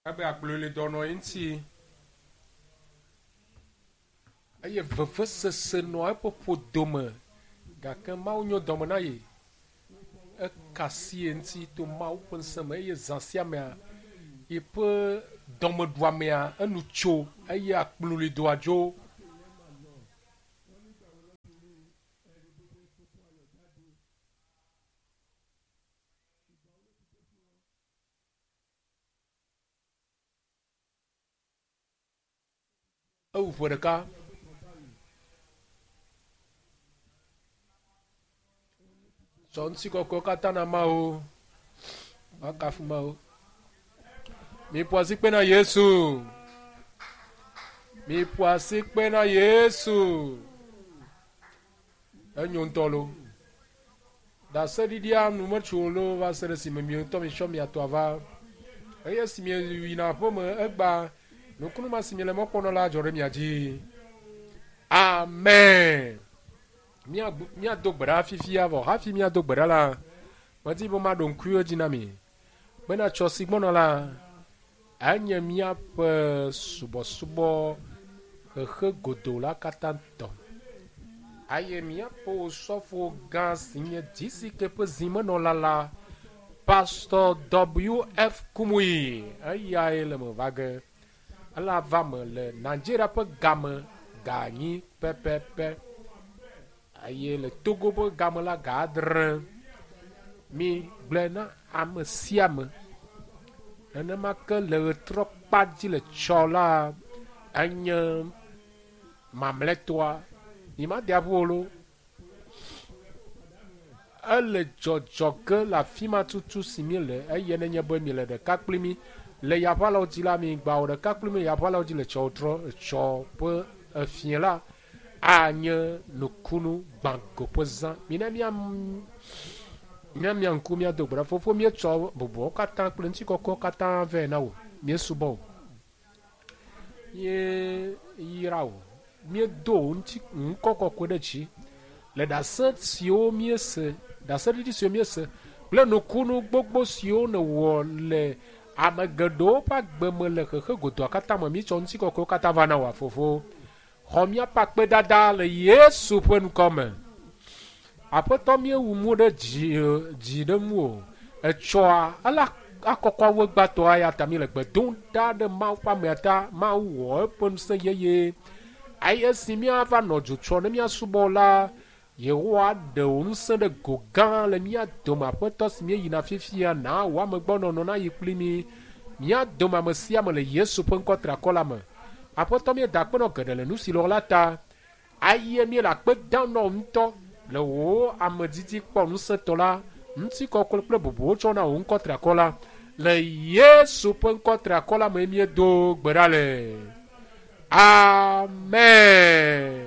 Ebe akplɔe le dɔnɔ ye ŋuti eye vevesese nɔ eƒe ƒodome gake Mawu nyo dɔme na ye. Eka asi ye ŋuti to Mawu ƒe ŋusẽ me eye zã sia mea yeƒe dɔmeɖuamea enu tso eye akplɔlidoa dzo. Ewu ƒe ɖeka. Tsɔ ŋutikɔkɔewo katã na Mawu. Woakafu Mawu. Miƒo asikpe na Yesu. Miƒo asikpe na Yesu. Enyo ŋutɔ lo. Ɖaseɖiɖia nu metso o loo va se ɖe esime mi ŋutɔ mitsɔ mia tɔa va. Eye esi mieyina aƒeme egbea, nukunu ma si miele mɔ kpɔm na la adzɔ ɖe mia dzi. Amen. Míado gbe ɖa fifia vɔ hafi míado gbe ɖa la, medi be maɖo ŋkuiwo dzi na mi bena tsɔ si gbɔna la, enye míaƒe subɔsubɔ xexe godoo la katã tɔ. Eye míaƒe osɔfo gã si nye DCK ƒe zimenɔla la, Pastor WF Kumuyi, eyae le me va ge. Ele ava me le Nigeria ƒe game ga enyi pɛpɛpɛ eye le Togo ƒe game la ga adre. Mi gblɔe na ame sia ame. Nenema ke le ɣetrɔ kpa dzi le tsɔ la enye mamlɛtɔa. Mi ma de aƒu o lo. Ele dzɔdzɔ ge le afi ma tutu si mi le eye nenye be mi le ɖeka kpli mi le yaʋalawo dzi la, mi gba wɔ ɖeka kpli mi le yaʋalawo dzi le tsɔ trɔ tsɔ ƒe efie la anye nukunu gbãgo ƒe zã. Mina mia mia ŋku míado gbe ɖa. Fofo, míetsɔ bubuawo katã kple ŋutikɔkɔwo katã vɛ na wò. Míesubɔ wò. Míeyra wò. Míedo wò ŋuti ŋkɔ kɔkɔe ɖe dzi le ɖase siwo míese, ɖaseɖiɖi siwo míese kple nukunu gbogbo siwo nèwɔ le ame geɖewo ƒe agbe me le xexe godoa katã me. Míetsɔ ŋutikɔkɔewo katã va na wò, Fofo. Xɔ míaƒe akpedada le Yesu ƒe ŋkɔ me. Aƒetɔ, míewu mo ɖe dzi, dzi ɖe ŋu o. Etsɔa, ele akɔkɔ wu egbãtɔa eya ta míele gbe dom ɖa ɖe Mawu ƒe amea ta. Mawu wɔ eƒe ŋusẽ yeye. Eye esi míava nɔ dzo tsɔ ne míasubɔ la, Yehowa aɖe wò ŋusẽ ɖe go gã le mía dome. Aƒetɔ si míeyina fifia, na wò amegbɔnɔnɔ nayi kpli mí. Mía dome ame sia ame le Yesu ƒe ŋkɔ triakɔ la me. Aƒetɔ, míeda akpe nɔ geɖe le nu si lɔ la ta. Eye míele akpe dam na wò ŋutɔ le wò amedidi kpɔ ŋusẽtɔ la, ŋutikɔkɔe kple bubuwo tsɔ na wò ŋkɔ triakɔ la. Le Yesu ƒe ŋkɔ triakɔ la me míedo gbe ɖa le. Amen.